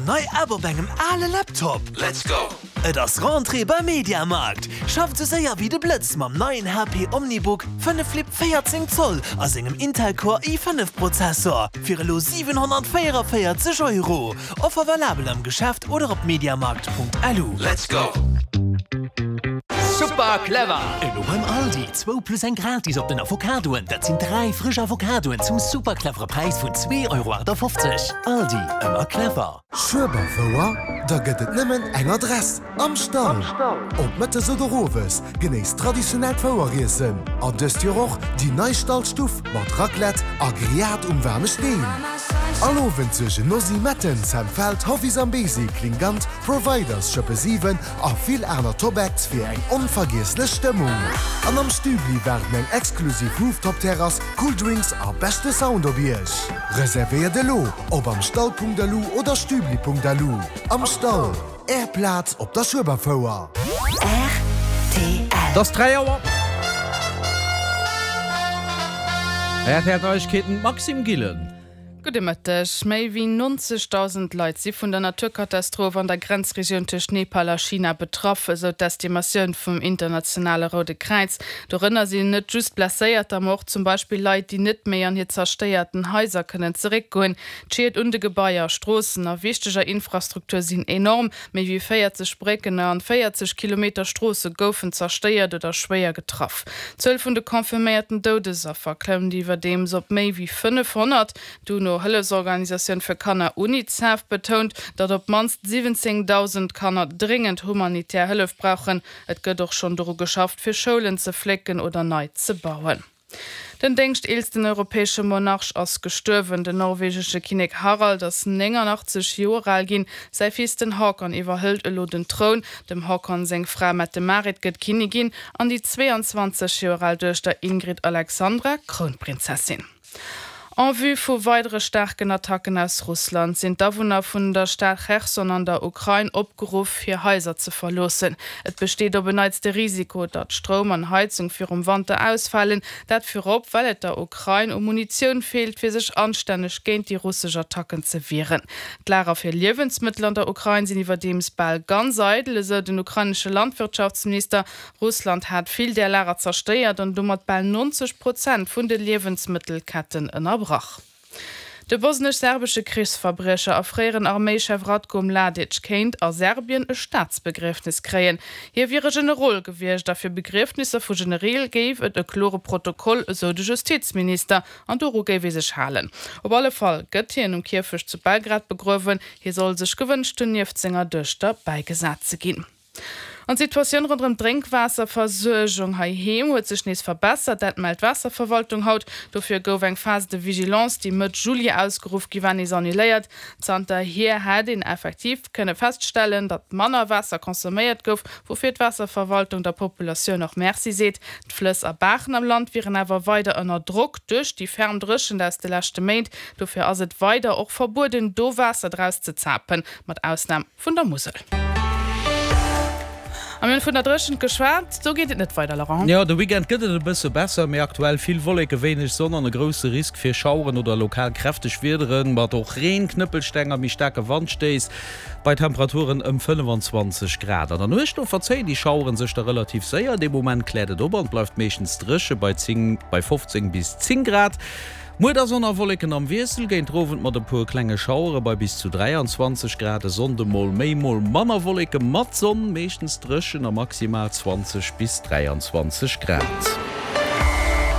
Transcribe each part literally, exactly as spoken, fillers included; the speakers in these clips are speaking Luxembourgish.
nei App op engem ale Laptop? Let's go! Et ass Rentrée beim Mediamarkt! Schafft sou séier wéi de Blëtz mam neien H P OmniBook fënnef Flip véierzéng Zoll a sengem Intel Core i fënnef Prozessor fir elo siwenhonnertvéierenvéierzeg Euro. Offer valabel am Geschäft oder op mediamarkt Punkt lu. Let's go! Super clever! Elo beim Aldi, zwou plus eng gratis op den Avocadoen, dat sinn dräi frësch Avocadoen zum super clevere Präis vun zwee Euro achtafofzeg. Aldi, ëmmer clever! Schueberfouer? Da gëtt et nëmmen eng Adress, Am Stall! Ob mëttes oder owes, genéisst traditionellt Foueriessen an dëst Joer och déi nei Stallstuff mat Raclette a Grillade um waarme Steen. All Owend suergen Nosy Metten, Sam Feld, Hoffy Zambesi, Klingant, Providers, Schëppe siwen a vill aner Top-Acts fir eng onvergiesslech Stëmmung. An am Stübli waarden eng exklusiv Rooftop-Terrass, cool Drinks a beschte Sound op Iech. Reservéiert elo op amstall Punkt lu oder stübli Punkt lu. Am Stall, Är Plaz op der Schueberfouer. R T L. Et ass dräi Auer. R T L Neiegkeeten, Maxime Gillen. Gudde Mëtteg. Méi wéi nonzegdausend Leit si vun der Naturkatastroph an der Grenzregioun tëscht Nepal a China betraff, esou d'Estimatioun vum internationale Roude Kräiz. Dorënner sinn net just Blesséierter, ma och zum Beispill Leit, déi net méi an hir zerstéierten Haiser kënnen zeréckgoen. D'Schied un de Gebaier, Stroossen a wichteger Infrastruktur sinn enorm. Méi wéi véierzeg Brécken an véierzeg Kilometer Stroosse goufen zerstéiert oder schwéier getraff. D'Zuel vun de confirméierten Doudesaffer klëmmt iwwerdeems op méi wéi fënnefhonnert. D'UNO-Hëllefsorganisatioun fir Kanner UNICEF betount, datt op d'mannst siwwenzéngdausend Kanner dréngend humanitär Hëllef brauchen. Et gëtt och schonn doru geschafft, fir Schoulen ze flécken oder nei ze bauen. Den déngschteelsten europäesche Monarch ass gestuerwen. Den norwegesche Kinnek Harald ass néngannachtzeg Joer al ginn. Säi Fils den Haakon iwwerhëlt elo den Troun. Dem Haakon seng Fra Mette-Marit gëtt Kinnigin an déi zweeanzwanzeg Joer al Duechter Ingrid Alexandra Krounprinzessin. En vue vu weidere staarken Attacken aus Russland sinn d'Awunner vun der Stad Cherson an der Ukrain opgeruff, hir Haiser ze verloossen. Et besteet op en Neits de Risiko, datt Stroum an Heizung virum Wanter ausfalen. Dat virop, well et der Ukrain u Munitioun feelt, fir sech anstänneg géint déi russesch Attacken ze wieren. D'Lager fir Liewensmëttel an der Ukrain sinn iwwerdeems bal ganz eidel, esou den ukrainesche Landwirtschaftsminister. Russland hat vill där Lager zerstéiert an domat bal neunzeg Prozent vun de Liewensmëttelketten ënnerbrach. De bosnesch-serbesche Krichsverbriecher a fréieren Arméichef Ratko Mladic kéint a Serbien e Staatsbegriefnis kréien. Hie wier e Generol gewiescht a fir Begriefnisser vu Genereel géif et e klore Protokoll, esou de Justizminister, an doru géif ee sech halen. Op alle Fall gëtt hien um Kierfecht zu Belgrad begruewen. Hie soll sech gewënscht hunn, nieft senger Duechter bäigesat ze ginn. An d'Situatioun ronderëm d'Drénkwaasserversuergung heiheem huet sech nees verbessert, dat mellt d'Waasserverwaltung haut. Dofir gouf eng Phase de vigilance, déi Mëtt Juli ausgeruff gi war, nees annuléiert. Zanterhier hätt een effektiv kënne feststellen, datt manner Waasser consomméiert gouf, woufir d'Waasserverwaltung der Populatioun och Merci seet. D'Flëss a Baachen am Land wieren awer weider ënner Drock duerch déi ferm Dréchent aus de leschte Méint. Dofir ass et weider och verbueden, do Waasser draus ze zapen, mat Ausnam vun der Musel. A mir hunn vun der Dréchent geschwat, do geet et net weider, Laurent. Jo, de Weekend gëtt et e bësse besser, mee aktuell vill Wolleke, wéineg Sonn an e grousse Risk fir Schaueren oder lokal kräfteg Wiederen, mat och Reen, Knëppelsteng a méi staarke Wandstéiss bei Temperaturen ëm fënnefanzwanzeg Grad. An der Nuecht do verzéien déi Schaueren sech da relativ séier, dee Moment kläert et op an et bleift meeschtens dréche bei zéng, bei fofzéng bis zéng Grad. Muer da Sonn a Wolleken am Wiessel, géint den Owend mat e puer klenge Schauere bei bis zu dräianzwanzeg Grad. E Sonnde mol méi, mol manner Wolleke mat Sonn, meeschtens dréchen a maximal zwanzeg bis dräianzwanzeg Grad.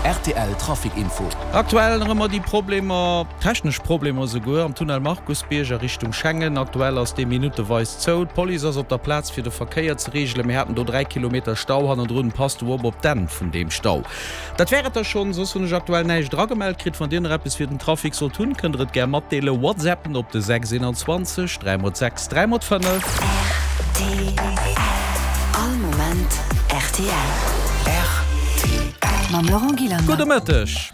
R T L Trafic Info. Aktuell nach ëmmer déi Problemer, technesch Problemer esouguer, am Tunnel Markusbierg a Richtung Schengen. Aktuell ass dee minutteweis zou. D'Police ass op der Plaz fir de Verkéier ze reegelen. Mir haten do dräi Kilometer Stau hannendrun. Passt do op op d'Enn vun deem Stau. Dat wär et da schonn. Soss hunn ech aktuell näischt eragemellt kritt. Wann Dir nach eppes fir den Trafic sollt hunn, kënnt Der et gär matdeelen. Whatsappen op de sechs eenanzwanzeg dräi mol sechs dräi mol fënnef. R T L. All Moment R T L. R T L. Mam Laurent Gillander. Gudde Mëtteg.